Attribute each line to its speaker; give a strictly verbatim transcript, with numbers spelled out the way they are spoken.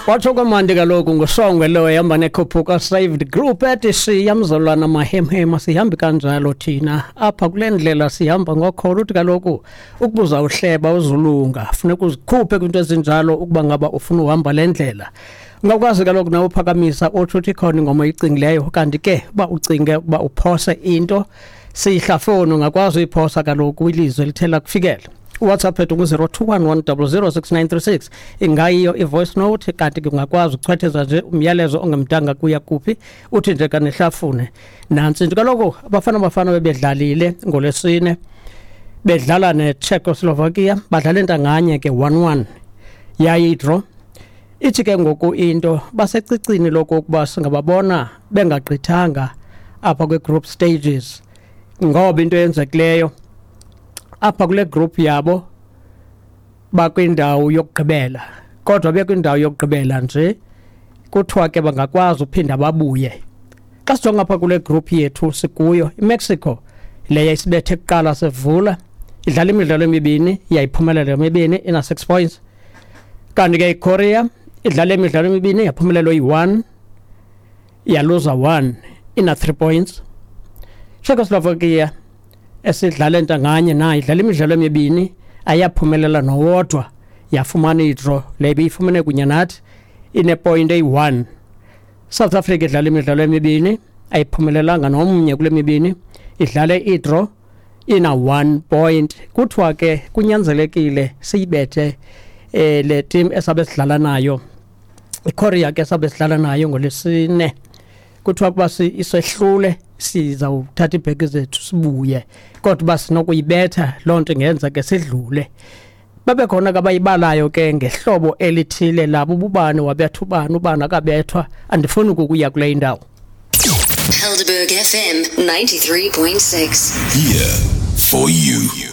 Speaker 1: Watsho kwamandi kaloku ngusongwe lo ehamba nekhuphuka Saved Group ethi siyamzalwana mahemhema, sihambi kanjalo thina apha kule ndlela, sihamba ngokholo. Uthi kaloku ukubuza uhleba uzulunga, funeka uzikhuphe kwinto ezinjalo ukuba ngaba ufuna uhamba le ndlela. Ungakwazi kaloku nawe uphakamisa utsho uthi ikhona ingoma oyicingileyo, kanti ke uba ucinge ukuba uphose into siyihlafoni, ungakwazi uyiphosa kaloku kwilizwe elithe lakufikela. WhatsApp ethu ngu-zero two one one double zero six nine three six, ingayiyo i-voice note, kanti ke ungakwazi ukuchwetheza nje umyalezo ongemdanga kuya kuphi, uthi nje kanihlafune nantsi into. Kaloku abafana bafana bebedlalile ngolwesine, bedlala neCzechoslovakia, badlala intanganye ke one one, yayidraw. Ithi ke ngoku into basecicini lokokuba singababona bengagqithanga apha kwi-group stages, ngoba into eyenzekileyo apha kule group yabo bakwindawo yokugqibela, kodwa bekwindawo yokugqibela nje kuthiwa ke bangakwazi uphinda babuye. Xa sijonga apha kule group yethu sikuyo, iMexico le yayisibethe kuqala sivula, idlala imidlalo emibini, yayiphumelela emibini, ina six points. Kanti ke iKorea idlala imidlalo emibini, yaphumelela oyi-one, yaluza one, ina three points. Czechoslovakia esidlala ntanganye nayo idlala imidlalo emibini, ayaphumelela nowodwa, yafumana idraw le ibiyifumene kunye nathi, inepoint eyi-one. South Africa idlala imidlalo emibini, ayiphumelelanga nomnye kule mibini, idlale idraw, ina one point. Kuthiwa ke kunyanzelekile siyibethe eh le team esabe sidlala nayo, iKorea ke sabe sidlala nayo ngolesine. Kuthiwa kuba isehlule sizawuthatha ibheki zethu sibuye, kodwa uba sinokuyibetha loo nto ingenza ke sidlule. Babe khona ke abayibalayo ke ngehlobo elithile labo, ubani wabetha ubani, ubani akabethwa. Andifuni ukuya kule indawo.
Speaker 2: Helderberg F M ninety-three point six.
Speaker 3: Here for you.